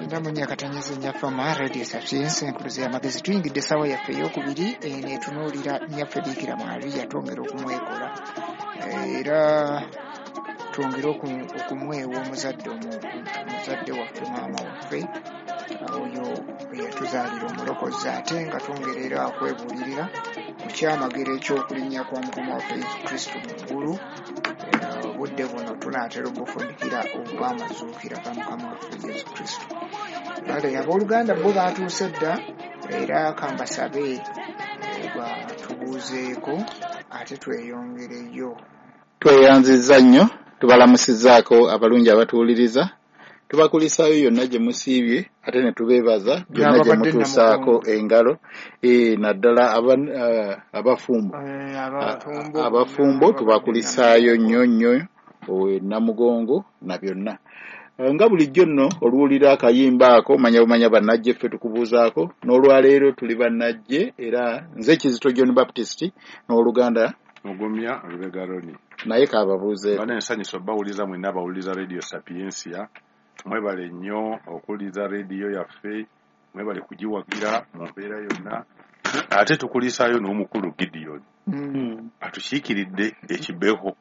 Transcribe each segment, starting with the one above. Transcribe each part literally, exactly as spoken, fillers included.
Kyenda mu nnya akatanyeze nnyaffe ma Radio Sapientia enkuluze y'amagezi. Tuyingidde essaawa yaffe ey'okubiri eno etunuulira nnyaffe Biikira Maria, twongera okumwekola era twongere okumwewa omuzadde omuzadde waffe, maama waffe oyo eyatuzaalira omulokozi, ate nga twongera era okwebuulirira ku kyamagero eky'okulinnya kwa Mukama waffe Yesu Kristo mu ggulu. Obudde buno tunaatera okufundikira obw'amazuukira ga Mukama waffe Yesu Kristo. Kale abooluganda bo baatuuse dda, era kambasabe batubuuzeeko ate tweyongereyo. Tweyanzizza nnyo, tubalamusizzaako abalungi abatuwuliriza, tubakulisaayo yonna gye musiibye ate ne tubeebaza byonna gye mutuusaako engalo, naddala abafumbo abafumbo tubakulisaayo nnyo nnyo Namugongo na byonna. Nga bulijjo nno oluwulira akayimba ako manya bumanya bannajje ffe tukubuuzaako. N'olwaleero tuli bannajje, era nze Kizito John Baptist n'oluganda Mugumya Lubega Roni, naye kababuuzeeko. Bana ensanyusa obbawuliza mwenna abawuliriza Radio Sapientia, mwebale nnyo okuwuliriza rediyo yaffe, mwebale kugiwagira mu mbeera yonna. Ate tukulisaayo n'omukulu Gideon mm. atukiikiridde ekibeho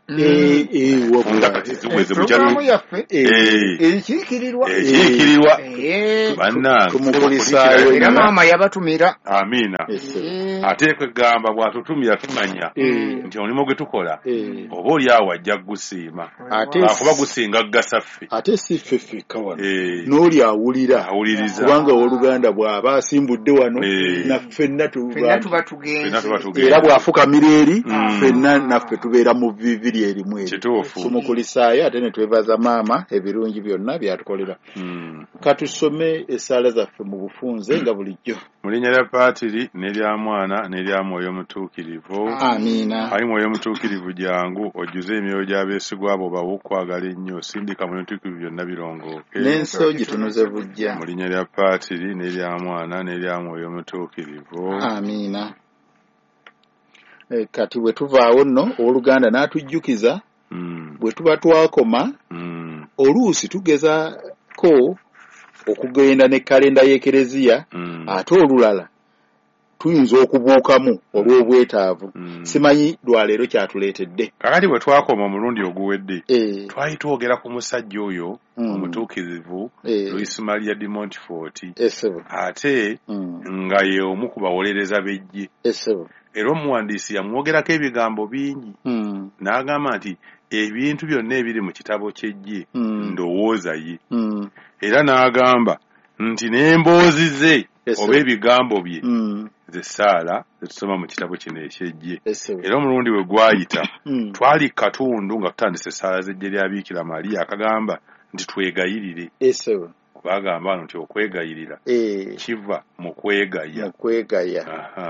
programu yaffe ekiikirirwa ekiikirirwa bannange, tumukulisaayo era maama yabatumira. Amiina. Ate kwegamba bw'atutumira tumanya nti omulimu gwe tukola oba oli awo ajja kugusiima, akuba gusinga gugasa ffe, ate si ffe ffekka wano, n'oli awulira awuliriza, kubanga owooluganda bw'aba asimbudde wano naffenna tuba tugenze, era bw'afukamira eri ffenna naffe tubeera mu viviri erimu eri. Tumukulisaayo ate ne twebaza maama ebirungi byonna byatukolera. Katusome essaala zaffe mu bufunze nga bulijjo. Mu linnya lya Paatiri n'erya Mwana n'erya Mwoyo Mutuukirivu. Amiina. Ayi Mwoyo Mutuukirivu jangu ojjuze emyoyo gy'abeesigwa abo bawe okwagala ennyo, sindika Mwoyo Mutuukirivu byonna birongooke n'ensi ogitunuze buggya. Mu linnya lya Paatiri n'erya Mwana n'erya Mwoyo Mutuukirivu. Amiina. Kati bwe tuvaawo nno owooluganda n'atujjukiza bwe tuba twakoma, oluusi tugezaako okugenda ne kalenda y'Ekereziya, ate olulala tuyinza okubuukamu olw'obwetaavu. Simanyi lwaleero kyatuleetedde. Kakati bwe twakoma omulundi oguwedde twali twogera ku musajja oyo omutuukirivu Luis Maria de Montfort, ate nga ye omu ku bawolereza b'eggye. Era omuwandiisi yamwogerako ebigambo bingi, n'agamba nti ebintu byonna ebiri mu kitabo ky'eggye ndowooza ye, era n'agamba nti n'emboozi ze oba ebigambo bye ze ssaala zetusoma mu kitabo kino eky'eggye. Era omulundi we gwayita twali katundu nga tutandise essaala z'eggye lya Biikira Maria akagamba nti twegayirire. Bagamba wano nti okwegayirira kiva mu kwegaya, mu kwegaya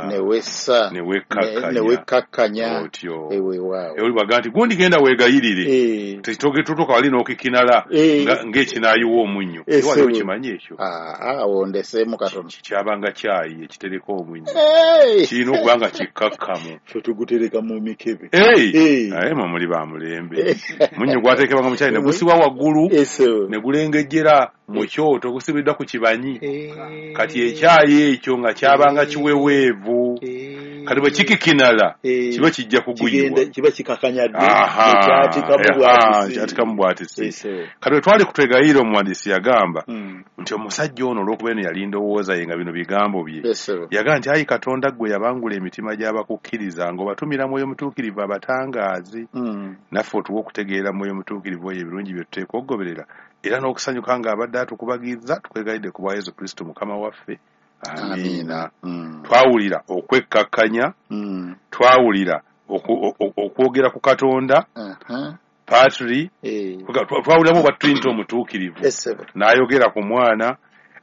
ne wessa ne wekkakkanya otyo. Weewaawo oli bw'agamba nti gundi genda weegayirire, tutuuka wali n'okikinala ng'ekinaayiwa omunnyo. Wali okimanyi ekyo? Awo ndeseemu katono. Kyabanga kyayi ekitereka omunnyo, kirina okuba nga kikkakkamu. Ffe tugutereka mu mikebe. Naye mwe muli ba mulembe. Munnyo gwateekebwanga mu kyayi ne gusibwa waggulu ne gulengejjera mu kyoto gusibiddwa ku kibanyi. Kati ekyayi ekyo nga kyabanga kiweweevu, kati bwe kikikinala kiba kijja kuguyiwa, kiba kikakanyadde kyatikamu bwatisi. Kati bwe twali kutwegayirira omuwandiisi yagamba nti omusajja ono olw'okuba eno yali ndowooza ye nga bino bigambo bye, yagamba nti ayi Katonda ggwe yabangula emitima gy'abakukkiriza ng'obatumira Mwoyo Mutuukirivu abatangaazi, naffe otuwe okutegeera Mwoyo Mutuukirivu oyo ebirungi bye tuteekwa okugoberera era n'okusanyuka ng'abadde atukubagiza. Tukwegayidde ku bwa Yesu Kristo Mukama waffe. Amiina. Twawulira okwekkakkanya, twawulira okwogera ku Katonda Patri, twawuliramu obwa Trinity omutuukirivu n'ayogera ku Mwana,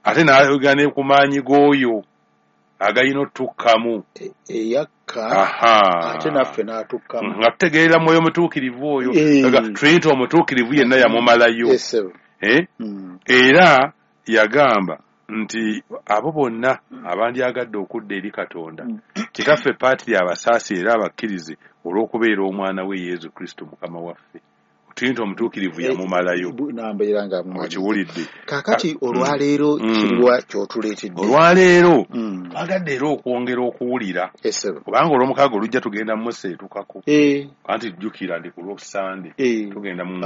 ate n'ayogera ne ku maanyi g'oyo agayina otukkamu eyakka ate naffe n'atukkamu nga tutegeerera Mwoyo Mutuukirivu oyo. Trinity omutuukirivu yenna yamumalayo. Era yagamba nti abo bonna abandyagadde okudda eri Katonda, Kitaffe Patri abasaasi era abakkirize olw'okubeera omwana we Yesu Kristo Mukama waffe. Tinto omutuukirivu yamumalayo. Nambeera nga okiwulidde. Kaakati olwaleero kiriwa ky'otuleetedde? Olwaleero twagadde era okwongera okuwulira, kubanga olw'omukaaga olujja tugenda museetukako. Anti jjukira ndi ku Lwosande tugenda mu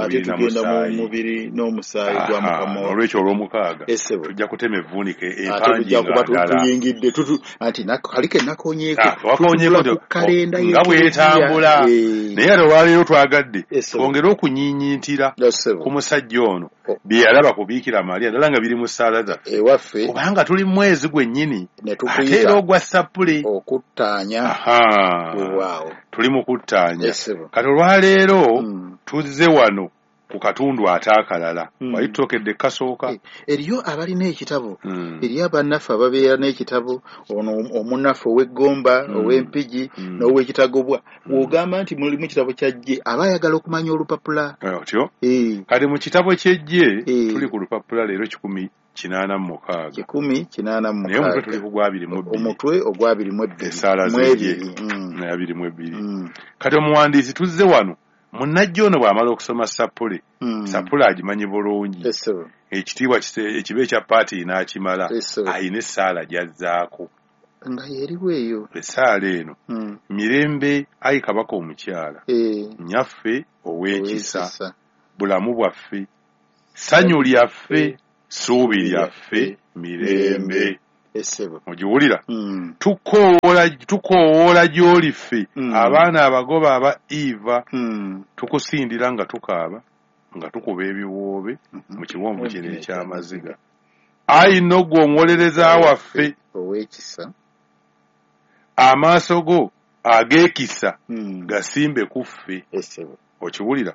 mubiri n'omusaayi gwa Mukama. Olwekyo olw'omukaaga tujja kutema evvuunike empangi nga ddala tuyingidde anti kali ke nakonyeeko ku kalenda nga bwetambula. Naye ate olwaleero twagadde twongere okunyiinyintira ku musajja ono bye yalaba ku Biikira Maria ddala nga biri mu ssaala zaffe ewaffe, kubanga tuli mu mwezi gwennyini ate era ogwa Ssappule okuttaanya. Weewaawo tuli mu kuttaanya. Kati olwaleero tuzze wano ku katundu ate akalala wali tutokedde kasooka. Eriyo abalina ekitabo, eriyo abannaffe ababeera n'ekitabo, ono omunnaffe ow'eggomba, ow'empigi n'ow'ekitagobwa. Bw'ogamba nti mulimu kitabo kya Jje, aba ayagala okumanya olupapula. Otyo kati mu kitabo ky'Ejje tuli ku lupapula leero kikumi kinaana mu mukaaga. Kikumi kinaana mu mukaaga. Naye omutwe tuli ku gwa abiri mu bbiri. Omutwe ogwa abiri mu ebbiri. Essaala z'Ejje abiri mu ebbiri. Kati omuwandiisi tuzze wano munnajja ono bw'amala okusoma Ssappule, Ssappule agimanyi bulungi, ekitiibwa ekiba ekya paati n'akimala, ayina essaala gy'azzaako nga yeriwo eyo. Essaala eno mirembe ayi kabaka omukyala, nnyaffe ow'ekisa, bulamu bwaffe, ssanyu lyaffe, ssuubi lyaffe, mirembe. Ogiwulira? Tukoowoola gy'oli ffe abaana abagoba aba Eva, tukusindira nga tukaaba nga tukuba ebiwoobe mu kiwonvu kino eky'amaziga. Ayi nno ggwe omuwolereza waffe ow'ekisa, amaaso go ag'ekisa gasimbe ku ffe. Okiwulira?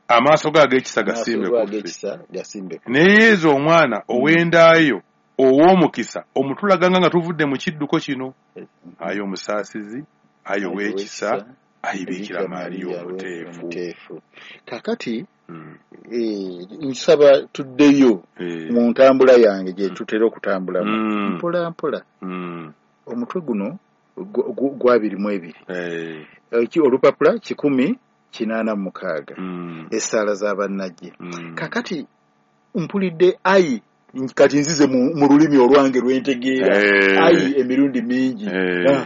Amaaso go ag'ekisa gasimbe ku ffe. Naye Yezu omwana ow'endaayo ow'omukisa omutulaganga nga tuvudde mu kidduko kino. Ayi omusaasizi, ayi ow'ekisa, ayi Biikira Maria omuteefu. Kaakati nsaba tuddeyo mu ntambula yange gye tutera okutambulamu mpola mpola. Omutwe guno gwa abiri mu ebiri, olupapula kikumi kinaana mu mukaaga, essaala z'abannajje. Kaakati mpulidde ayi, kati nzize mu lulimi olwange lwentegeera ayi emirundi mingi.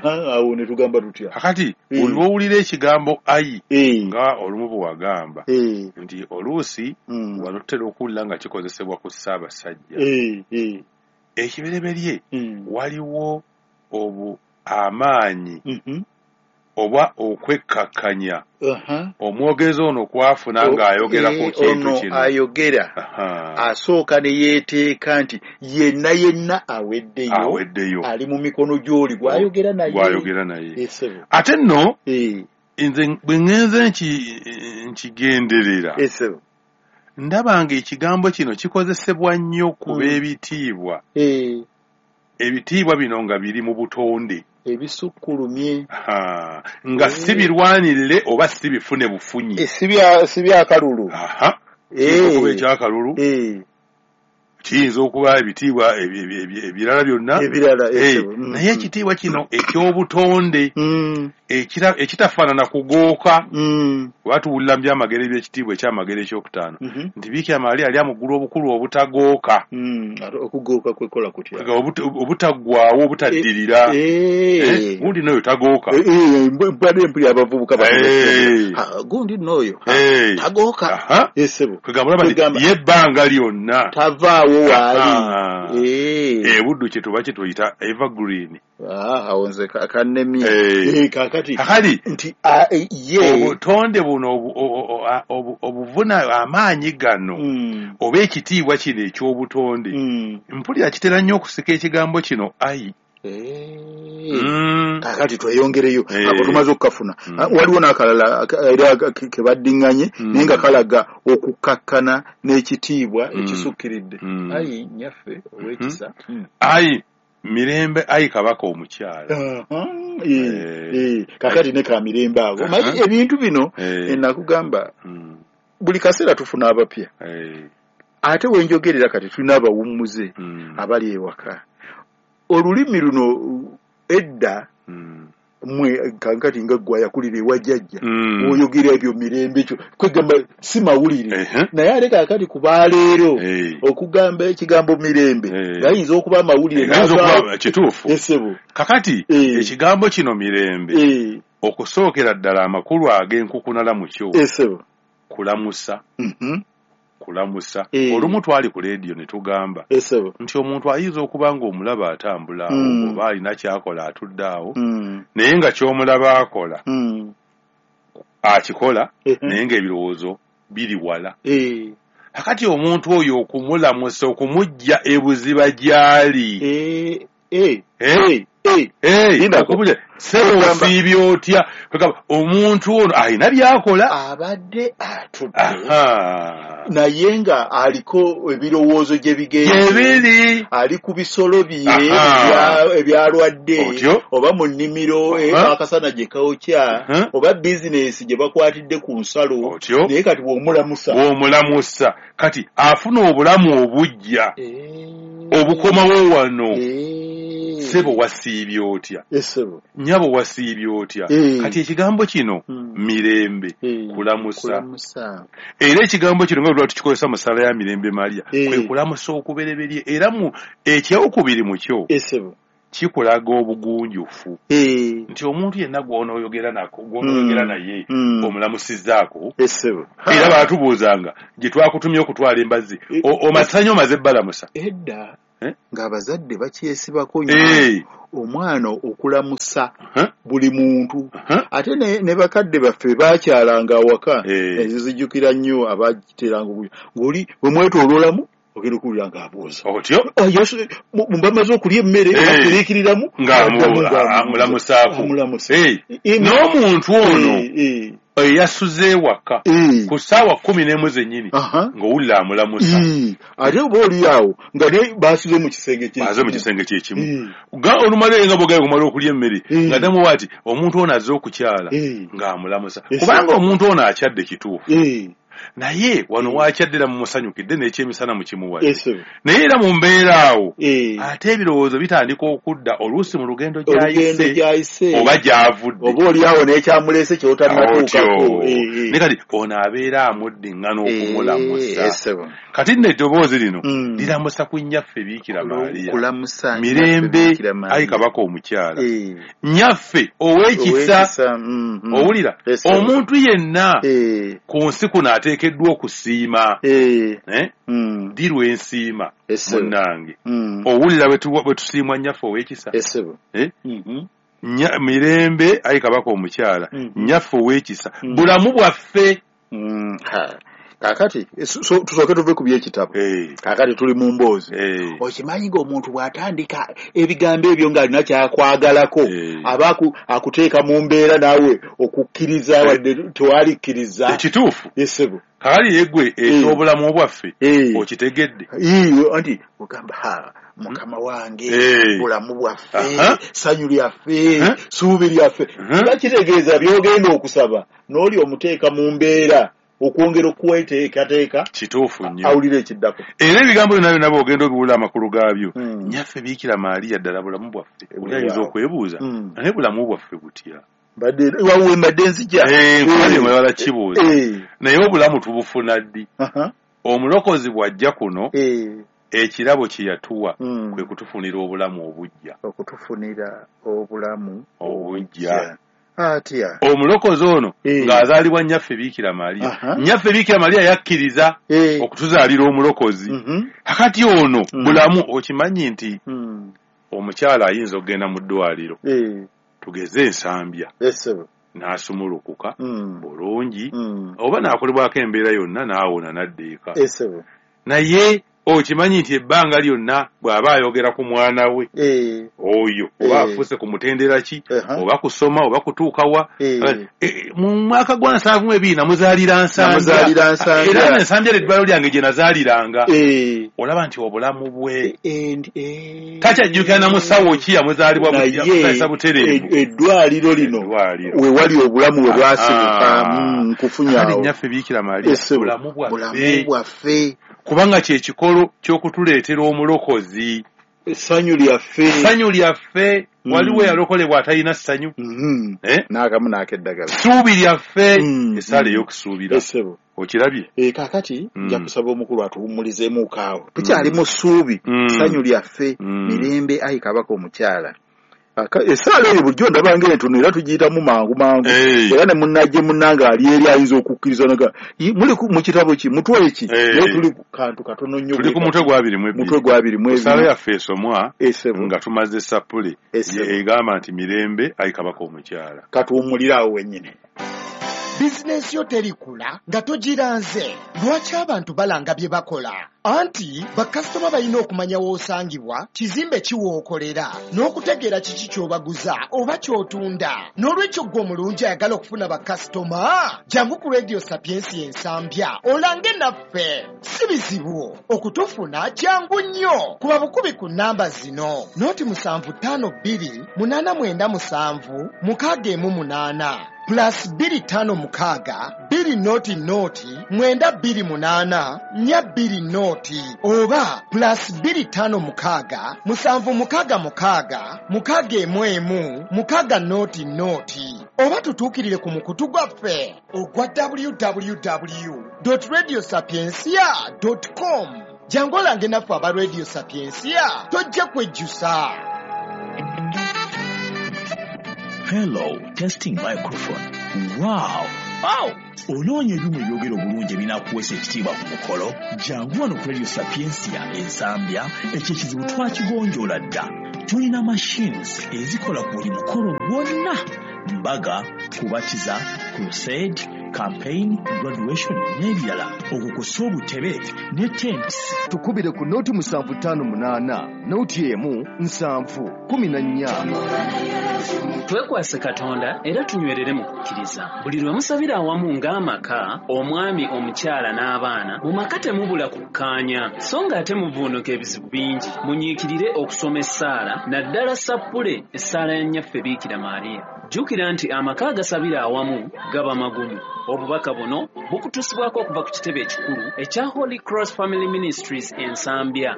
Awo ne tugamba tutya? Kakati olwowulira ekigambo ayi nga olumu bwe wagamba nti oluusi wano tutera okuwulira nga kikozesebwa ku Ssaabasajja. Ekibereberye waliwo obu amaanyi oba okwekkakkanya omwogezi ono kwafuna ng'ayogera ku kintu kino. Ayogera asooka ne yeeteeka nti yenna yenna aweddeyo, aweddeyo ali mu mikono gy'oli gw'ayogera naye, gw'ayogera naye. Ate nno nze bwe ŋŋenze nkigenderera ndaba ng'ekigambo kino kikozesebwa nnyo ku b'ebitiibwa. Ebitiibwa bino nga biri mu butonde ebisukkulumye, nga si birwanirire oba si bifune bufunyi, si byakalulu. Kiyinza okuba ekyakalulu, kiyinza okuba ebitiibwa ebirala byonna, naye ekitiibwa kino eky'obutonde ekitafaanana kugooka. Kuba tuwulira mu byamagero eby'ekitiibwa ekyamagero ekyokutaano nti Biikira Maria ali amuggulu obukulu obutagooka. Okugooka kwekola kutya? Obutaggwaawo, obutaddirira. Gundi n'oyo tagooka. Mbadde mpulira abavubuka gundi n'oyo tagooka. Kwegamba olaba nti ye ebbanga lyonna tavaawo waali. Ebuddu kye tuba kye tuyita evergreen. Awo nze kannemye. Kaakati kakati nti ye obutonde buno obuvuna amaanyi gano oba ekitiibwa kino eky'obutonde, mpulira kitera nnyo okusika ekigambo kino ayi. Kaakati tweyongereyo ako tumaze okukafuna. Waliwo n'akalala era ke baddiŋŋanye naye nga kalaga okukkakkana n'ekitiibwa ekisukkiridde. Ayi nnyaffe ow'ekisa, ayi mirembe, ayi kabaka omukyala. Kaakati ne ka mirembe ago. Manyi ebintu bino nakugamba buli kaseera tufuna abapya. Ate wenjogerera kati tulina abawummuze abali ewaka. Olulimi luno edda Mwe kankati nga gwa yakulira ewa jjajja oyogera ebyo mirembe kyo kwegamba si mawulire naye ate kaakati ku baaleero okugamba ekigambo mirembe gayinza okuba amawulire kituufu. Kakati ekigambo kino mirembe okusookera ddala amakulu ag'enkukunala mu kyo kulamusa. Kulamusa. Olumu twali ku leediyo ne tugamba nti omuntu ayinza okuba ng'omulaba atambula awo oba alina ky'akola atudde awo naye nga ky'omulaba akola akikola naye ng'ebirowoozo biri wala. Kakati omuntu oyo okumulamusa okumujja ebuziba gy'ali ssebo osiibye otya? Omuntu ono alina by'akola abadde atudde naye nga aliko ebirowoozo gye bigenda ali ku bisolo bye ebyalwadde oba mu nnimiro akasana gye kawokya oba bizinesi gye bakwatidde ku nsalo naye kati bw'omulamusa bw'omulamusa kati afuna obulamu obujja obukomawo wano. Ssebo wasiibye otya? Nnyabo wasiibye otya? Kati ekigambo kino mirembe kulamusa. Era ekigambo kino nga tukikozesa mu ssaala ya Mirembe Maria kwe kulamusa okubereberye era mu ekyokubiri mu kyo kikulaga obugunjufu nti omuntu yenna gw'onooyogera nako gw'onooyogera naye omulamusizzaako. Era baatubuuzanga gye twakutumye okutwala embazzi omasanyi omaze ebbalamusa edda ng'abazadde bakyesibako nnyo omwana okulamusa buli muntu. Ate ne bakadde baffe baakyalanga awaka ezizijjukira nnyo abakiteranga ng'oli bwe mwetooloolamu ogenda okuwulira ng'abuuza otyo bamaze okulya emmere asiriikiriramu ng'amulamusaako. N'omuntu ono eyasuze ewaka ku ssaawa kkumi n'emu zennyini ng'owulira amulamusa. Ate oba oli awo nga naye basuze mu kisenge kye mu kisenge kye kimu olumala nga bw'ogenda kumala okulya emmere nga ddamu ati omuntu ono azze okukyala ng'amulamusa kubanga omuntu ono akyadde kituufu naye wano wakyaddira mumusanyukidde n'ekyemisana mukimuwadde naye era mu mbeera awo ate ebirowoozo bitandika okudda oluusi mu lugendo gy'ayise oba gy'avudde oba oli awo n'ekyamuleese ky'otannatuukako naye kati ono abeera amuddiŋŋana okumulamusa. Kati nno eddoboozi lino liramusa ku nnyaffe Biikira Maria mirembe ayi kabaka omukyala nnyaffe ow'ekisa. Owulira omuntu yenna ku nsi kuno ateekeddwa okusiima ddi lwensiima munnange owulira bwe tusiimwa nnyaffe ow'ekisa mirembe ayi kabaka omukyala nnyaffe ow'ekisa bulamu bwaffe. Kaakati tusooke tuve ku by'ekitabo. Kaakati tuli mu mboozi. Okimanyi ng'omuntu bw'atandika ebigambo ebyo ng'alina kyakwagalako aba akuteeka mu mbeera naawe okukkiriza wadde tewalikkiriza. Ekituufu. Ssebo. Kaakati yeggwe eky'obulamu bwaffe okitegedde. Anti ogamba ha mukama wange bulamu bwaffe ssanyu lyaffe ssuubi lyaffe kiba kitegeeza by'ogenda okusaba n'oli omuteeka mu mbeera okwongera okweteekateeka kituufu nnyo awulira ekiddako. Era ebigambo byonna byonna bw'ogenda obiwulira amakulu gaabyo nnyaffe Biikira Maria ddala bulamu bwaffe. Oli ayinza okwebuuza naye bulamu bwaffe butya? Wawe mbadde nzija nkubalala kibuuza naye obulamu tubufuna ddi? Omulokozi bw'ajja kuno ekirabo kye yatuwa kwe kutufunira obulamu obujja okutufunira obulamu obujja. Atya omulokozi ono ng'azaalibwa nnyaffe Biikira Maria nnyaffe Biikira Maria yakkiriza okutuzaalira omulokozi. Kakati ono bulamu okimanyi nti omukyala ayinza okugenda mu ddwaliro tugeze Ensambya n'asumulukuka bulungi oba n'akolebwako embeera yonna n'awona n'adda eka naye okimanyi nti ebbanga lyonna bw'aba ayogera ku mwana we oyo oba afuuse ku mutendera ki oba kusoma oba kutuuka wa mu mwaka gwa nsanvu mu ebiri namuzaalira Nsambya era Nsambya eddwaliro lyange gye nazaaliranga. Olaba nti obulamu bwe takyajjukira na musawo ki yamuzaalibwa butereevu. Eddwaliro lino we wali obulamu we bwasibuka nkufunyawo. Nnyaffe Biikira Maria bulamu bwaffe kubanga kye kikolo ky'okutuleetera omulokozi essanyu lyaffe essanyu lyaffe Waliwo yalokolebwa atalina ssanyu. Eh? N'akamu n'akeddagala. Ssuubi lyaffe, essaala ey'okusuubira. Okirabye? Eh, kaakati nja kusaba omukulu atuwummulizeemuko awo. Tukyali mu ssuubi, ssanyu lyaffe, mirembe ayi kabaka omukyala. Essaala eyo bulijjo ndaba ng'entono era tugiyitamu mangu mangu. Era ne munnajje munnange ali eri ayinza okukkiriza naga muli mu kitabo ki mutwe ki, naye tuli ku kantu katono nnyo. Tuli ku mutwe gwa abiri mu ebiri. Mutwe gwa abiri mu ebiri. Essaala yaffe esomwa nga tumaze sappule egamba nti mirembe ayi kabaka omukyala. Katuwummulire awo wennyini. Bizinensi yo terikula nga togiranze. Lwaki abantu balanga bye bakola? Anti bakasitoma balina okumanya w'osangibwa, kizimbe ki w'okolera, n'okutegeera kiki ky'obaguza oba ky'otunda. N'olwekyo ggwe omulungi ayagala okufuna bakasitoma, jangu ku Radio Sapiensia Ensambya olange naffe. Si bizibu okutufuna, kyangu nnyo. Kuba bukubi ku nnamba zino: noti musanvu ttaano bbiri munaana mwenda musanvu mukaaga emu munaana plus bbiri ttaano mukaaga bbiri noti noti mwenda bbiri munaana nnya bbiri noti oba plus bbiri ttaano mukaaga musanvu mukaaga mukaaga mukaaga emu emu mukaaga noti noti oba tutuukirire ku mukutu gwaffe ogwa w w w dot radio sapiensia dot com. Jangu olange naffe aba Radio Sapiensia, tojja kwejjusa. Hello, testing microphone. Wow! Wow! Onoonya ebyuma ebyogera obulungi ebinaakuweesa ekitiibwa ku mukolo? Jangu wano ku Radio Sapiensia Ensambya, ekyo ekizibu twakigonjoola dda. Tulina machines ezikola ku buli mukolo gwonna: mbaga, kubatiza, crusade, campaign, graduation n'ebirala. Okwo kw'ossa obutebe ne tents. Tukubire ku noti musanvu ttaano munaana noti emu nsanvu kumi na nnya. Twekwase Katonda era tunywerere mu kukkiriza. Buli lwe musabira awamu ng'amaka, omwami, omukyala n'abaana, mu maka temubula kukkaanya, so ng'ate muvuunuka ebizibu bingi. Munyiikirire okusoma essaala, naddala sappule essaala ya Nnyaffe Biikira Maria. Jjukira nti amaka agasabira awamu gaba magumu. Obubaka buno bukutuusibwako okuva ku kitebe ekikulu ekya Holy Cross Family Ministries Ensambya.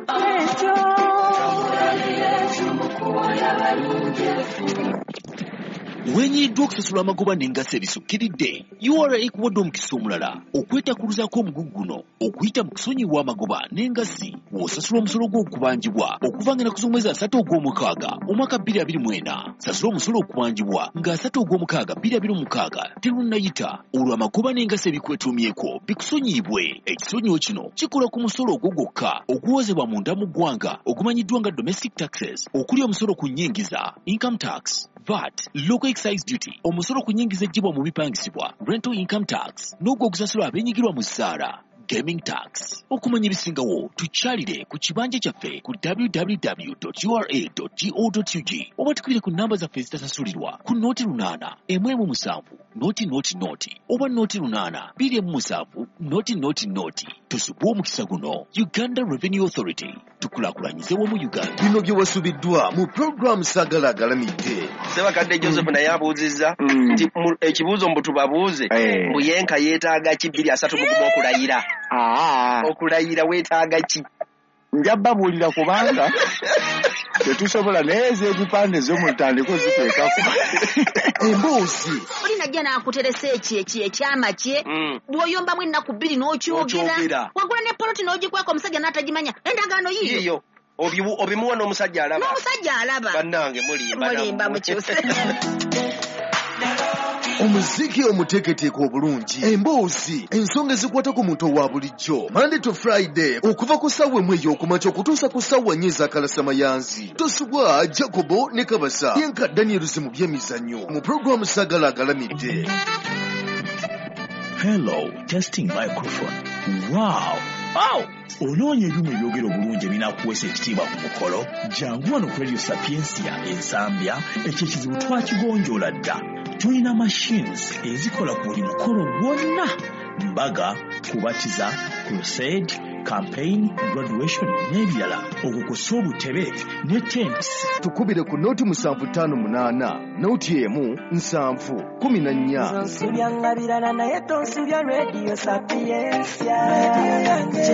Wenyiddwa okusasula amagoba n'engassi ebisukkiridde, U R A ekuwadde omukisa omulala okwetakuluzaako omugugu guno okuyita mu kusonyiwa amagoba n'engassi w'osasula omusolo gw'okubanjibwa okuva nga ennaku z'omwezi asatu ogw'omukaaga omwaka bbiri abiri mu ena. Sasula omusolo okubanjibwa nga asatu ogw'omukaaga bbiri abiri mu mukaaga terunnayita, olwo amagoba n'engassi ebikwetuumyeko bikusonyiyibwe. Ekisonyiwo kino kikola ku musolo ogwo gwokka oguwozebwa munda mu ggwanga ogumanyiddwa nga domestic taxes, okuli omusolo ku nnyingiza, income tax, V A T, local excise duty, omusolo ku nnyingiza eggyibwa mu bipangisibwa, rental income tax, n'ogwo ogusasulwa abeenyigirwa mu ssaala, gaming tax. Okumanya ebisingawo tukyalire ku kibanja kyaffe ku w w w dot u r a dot go dot u g oba tukubire ku nnamba zaffe ezitasasulirwa ku noti lunaana emu emu musanvu noti noti noti oba noti lunaana bbiri emu musanvu noti noti noti. Tusubwe omukisa guno. Uganda Revenue Authority, tukulaakulanyize wamu Uganda. Bino bye wasubiddwa mu program Sagala Agalamidde. Ssebakadde Joseph naye abuuzizza nti ekibuuzo mbu tubabuuze mbu yenka yeetaaga ki bbiri asatu mu gumu okulayira. Okulayira weetaaga ki? Nja babuulira kubanga tetusobola naye ez'ebipande zo mutandike oziteekako. Emboozi. Oli najja n'akuteresa eki eki ekyama kye, bw'oyombamu ennaku bbiri n'okyogera, wagula ne poloti n'ogikweka omusajja n'atagimanya, endagaano yiyo. Obimuwa n'omusajja alaba. N'omusajja alaba. Bannange mulimba. Mulimba mukyuse. Omuziki omuteeketeeke obulungi, emboozi, ensonga ezikwata ku muntu owa bulijjo. Monday to Friday okuva ku ssaawa emu ey'okumakya okutuusa ku ssaawa nnya ez'akalasamayanzi. Tosubwa Jacobo ne Kabasa yenka Daniels mu by'emizannyo mu pulogulaamu Sagala Agalamidde. Hello, testing microphone. Wow! Wow! Onoonya ebyuma ebyogera obulungi ebinaakuweesa ekitiibwa ku mukolo? Jangu wano ku Radio Sapiensia Ensambya, ekyo ekizibu twakigonjoola dda. Tulina machines ezikola ku buli mukolo gwonna: mbaga, kubatiza, crusade, campaign, graduation n'ebirala, okwo kw'ossa obutebe ne tents. Tukubire ku noti musanvu ttaano munaana noti emu nsanvu kumi na nnya.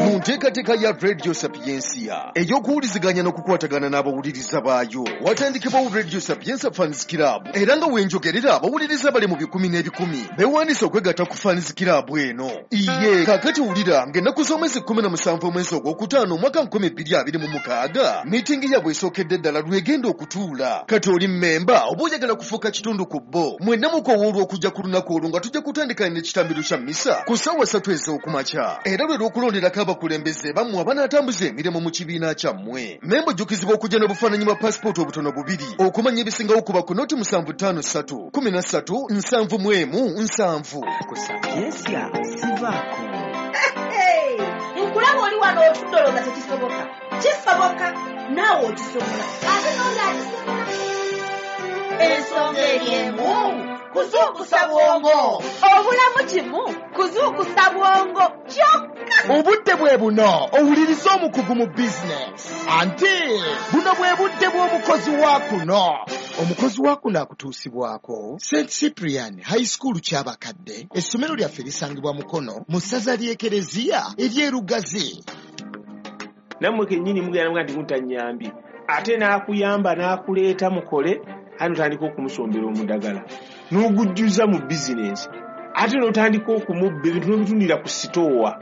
Mu nteekateeka ya Radio Sapientia ey'okuwuliziganya n'okukwatagana n'abawuliriza baayo, watandikibwawo Radio Sapientia Fans Club, era nga wenjogerera abawuliriza bali mu bikumi n'ebikumi beewandiise okwegatta ku Fans Club eno. Iye kaakati wulira ng'ennaku z'omwezi kkumi na musanvu omwezi ogwokutaano omwaka nkumi bbiri abiri mu mukaaga miitingi yaabwe esookedde ddala lwegenda okutuula. Kati oli mmemba oba oyagala kufuuka kitundu ku bo, mwenna mukowoolwa okujja ku lunaku olwo nga tujja kutandika n'ekitambiro kya mmisa ku ssaawa ssatu ez'okumakya, era lwe lw'okulonderako abakulembeze bammwe abanaatambuza emirimu mu kibiina kyammwe. Mmemba ojjukizibwa okujja n'obufaananyi bwa paasipooti obutono bubiri. Okumanya ebisingawo kuba ku noti musanvu ttaano ssatu kumi na ssatu nsanvu mu emu nsanvu. Ku Sapientia sivaako. Nkulaba oli wano otudde olowooza tekisoboka. Kisoboka, naawe okisobola, ate n'oli akisobola. Ensonga eri emu, kuzuukusa bwongo. Obulamu kimu, kuzuukusa bwongo kyokka. Obudde bwe buno owuliriza omukugu mu bizinesi, anti buno bwe budde bw'omukozi wa kuno. Omukozi wa kuno akutuusibwako Saint Cyprian High School Kyabakadde. Essomero lyaffe lisangibwa Mukono mu ssaza ly'Ekereziya ery'e Lugazi. Nammwe kennyini mugenda muga nti mutanyambye, ate n'akuyamba n'akuleeta mukole, ate n'otandika okumusombera omudagala n'ogujjuza mu bizinensi, ate n'otandika okumubba ebintu n'obitundira ku sitoowa,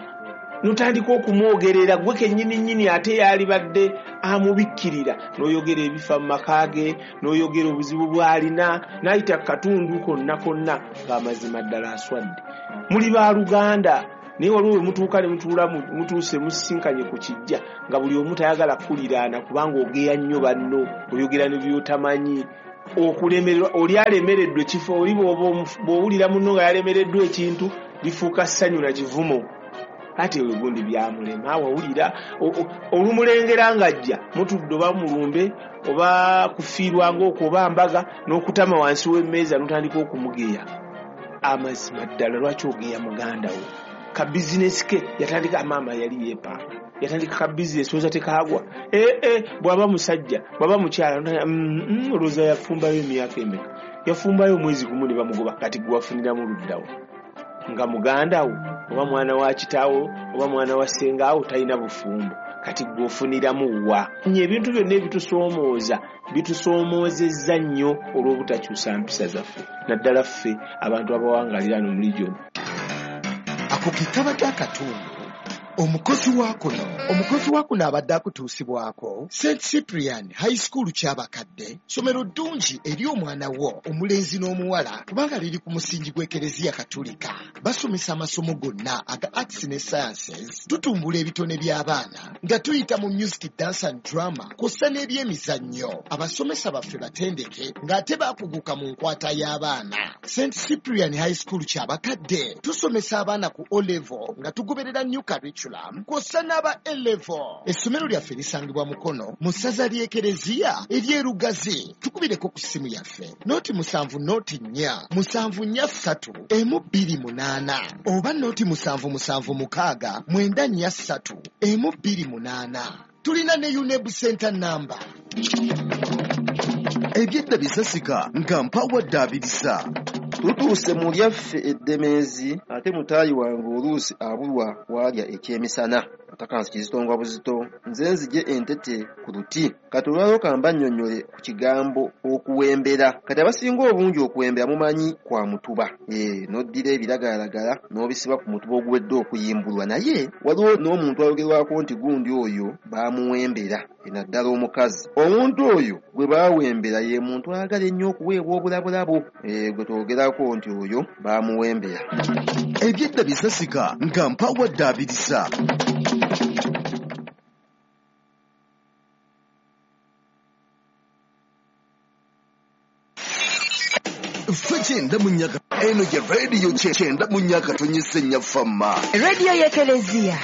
n'otandika okumwogerera gwe kennyini nnyini, ate yalibadde amubikkirira, n'oyogera ebifa mu maka ge, n'oyogera obuzibu bw'alina, n'ayita ku katundu konna konna ng'amazima ddala aswadde. Muli baluganda, naye waliwo we mutuuka ne mutuula mutuuse musisinkanye ku kijja nga buli omu tayagala kukuliraana kubanga ogeya nnyo banno, oyogera ne by'otamanyi. Okulemererwa, oli alemereddwa ekifo, oli bw'owulira munno nga yalemereddwa ekintu lifuuka ssanyu na kivumo. Ate ewe gundi byamulema, wawulira olumulengera ng'ajja mutudde oba mulumbe oba kufiirwa ng'okwo oba mbaga, n'okutama wansi w'emmeeza n'otandika okumugeya. Amazima ddala lwaki ogeya muganda wo? Ka bizinesi ke yatandika, maama yali yeepanga, yatandika ka bizinesi oza tekaagwa. Ee eh, bw'aba musajja bw'aba mukyala, olowooza yafumbayo emyaka emeka? Yafumbayo omwezi gumu ne bamugoba. Kati gwe wafuniramu luddawo nga muganda wo oba mwana wa kitaawo oba mwana wa ssengaawo talina bufumbo, kati gwe ofuniramu wa? Ebintu byonna ebitusoomooza bitusoomoozezza nnyo olw'obutakyusa mpisa zaffe, naddala ffe abantu abawangalira no mu region. Ako ke kabadde akatundu omukozi wa kuno. Omukozi wa kuno abadde akutuusibwako Saint Cyprian High School Kyabakadde, ssomero ddungi eri omwana wo omulenzi n'omuwala kubanga liri ku musingi gw'Ekereziya Katulika. Basomesa amasomo gonna aga arts ne sciences. Tutumbula ebitone by'abaana nga tuyita mu music, dance and drama kw'ossa n'ebyemizannyo. Abasomesa baffe batendeke ng'ate baakuguka mu nkwata y'abaana. Saint Cyprian High School Kyabakadde tusomesa abaana ku O level nga tugoberera new curriculum kw'ossa n'aba A level. Essomero lyaffe lisangibwa Mukono mu ssaza ly'Ekereziya ery'e Lugazi. Tukubireko ku ssimu yaffe noti musanvu noti nnya musanvu nnya ssatu emu bbiri munaana oba noti musanvu musanvu mukaaga mwenda nnya ssatu emu bbiri munaana. Tulina ne UNEB Center number. Ebyedda bisasika nga mpawadde abirisa. Tutuuse mu lyaffe eddemeezi, ate mutaayi wange oluusi abulwa waalya ekyemisana. Atakansi kizito nga buzito, nze nzigye entete ku luti. Kati olwaleero kamba nnyonnyole ku kigambo okuwembera. Kati abasinga obungi okuwembera mumanyi kwa mutuba. Ee, n'oddira ebiragalalagala n'obisiba ku mutuba oguwedde okuyimbulwa, naye waliwo n'omuntu ayogerwako nti gundi oyo baamuwembera, naddala omukazi. Omuntu oyo gwe baawembera ye muntu ayagala ennyo okuweebwa obulabulabo. Ee, gwe twogerako nti oyo baamuwembera. Ebyedda bisasika nga mpawadde abirisa. Ffe kyenda mu nnya eno ye rediyo kyenda mu nnya katonyese nnya fama. Rediyo y'Ekereziya.